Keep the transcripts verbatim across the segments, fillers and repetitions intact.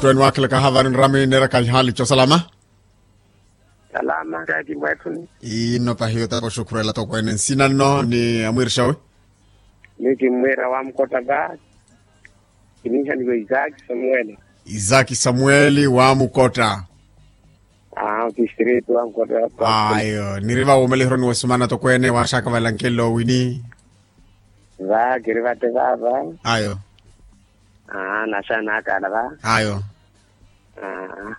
Tweni wakhilaka havaani nrami neeraka ihaali cosalama. Salama kaaki mweethuni. Ino pahi otapo xukhurela tokweene nsina nno ni amwiirixawe. Ni kimmwiira wamukotta va. Kiniihaniwa isaaki samuweli. Isaaki samuweli wamukotta. Aa otistritu wamukotta. Ayo niri va wuumelihironi wa sumana tokweene waaxaka valankelo wini. Va kiri vate vava. Ayo. Aa naxanakala va. Ayo.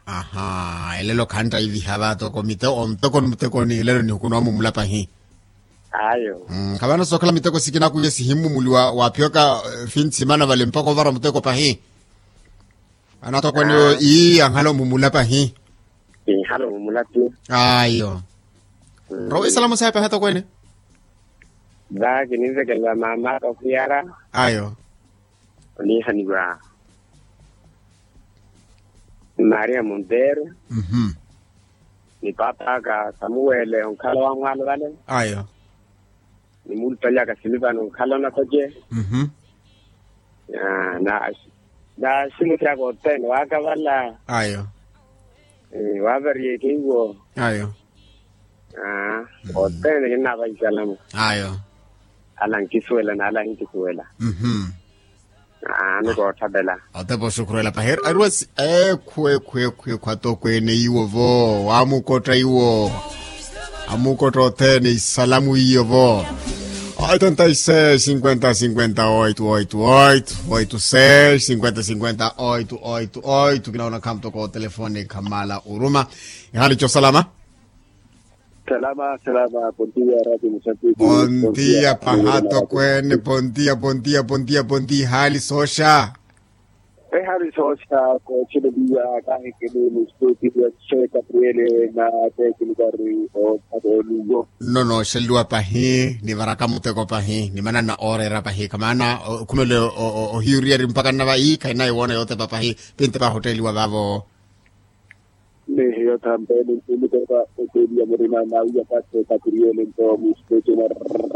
Aha elelo khantta iviha va toko miteko muteko ni elelo nihukunwa mumula pahi. Ayo. Khavana sookhala miteko sikinakuye sihimmumuli wa phiyoka. Finsimana vale mpaka ovara muteko pahi. Anatokweneyo ii ankhala omumula pahi. Inkhala omumula ti. Ayo. Rowa isalamu sawe pahi atokweene. Va kininvekelela mamaka okhuyara. Ayo. Oniihaniwa maria monteiro. Ni papaka samuwele onkhala wamwalo vale. Ayo. Ni muulupaliyaka silivano onkhala onakoce. Na na ximutyaka othene waakavala. Ayo. Waavariyeke iwo. Ayo. Othene kinnavaha isalamu. Ayo. Ala nkisuwela n'ala hinkisuwela. Aano koottapela. Otepa oxukhurela pahi ariwa si ekhwe ekhwe ekhwe ekhwe atokweene iwo vo wamukotta iwo. Amukotta othene isalamu iyo vo. Oitenta i seis sinkwenta sinkwenta oitu oitu oitu oitu seis sinkwenta sinkwenta oitu oitu oitu kinaona khamutoko otelefoni khamala oruma. Ihali cosalama. Salama salama pontiya rati musapiti. Pontiya pahato kwene pontiya pontiya pontiya pontiya hali sosha. Ehali sosha kochileliya kahikini mustuti ya che kapriele na tekilukari o patolugo. Nno nooxeliwa pahi nivaraka muteko pahi nimanana ooreera pahi kamaana okhumele ohiyuriyari mpaka nnava iikha inayi woona yootepa pahi. Pintepa hotteliwa vavo. Ni hiyo thampeni ntimutoka oteeliya murima nawiya katte katiriyele nto muspeche na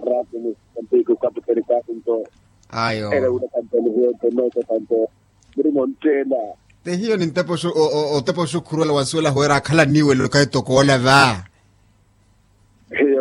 ratu musampiku kaputeri kaku nto. Ayo. Ere wula thampeni hiyo nto noto thanto murima ontteela. Te hiyo nintepa oxukhuruwela wansuwela howeera akhala niwelo kaitokoola va. Hiyo.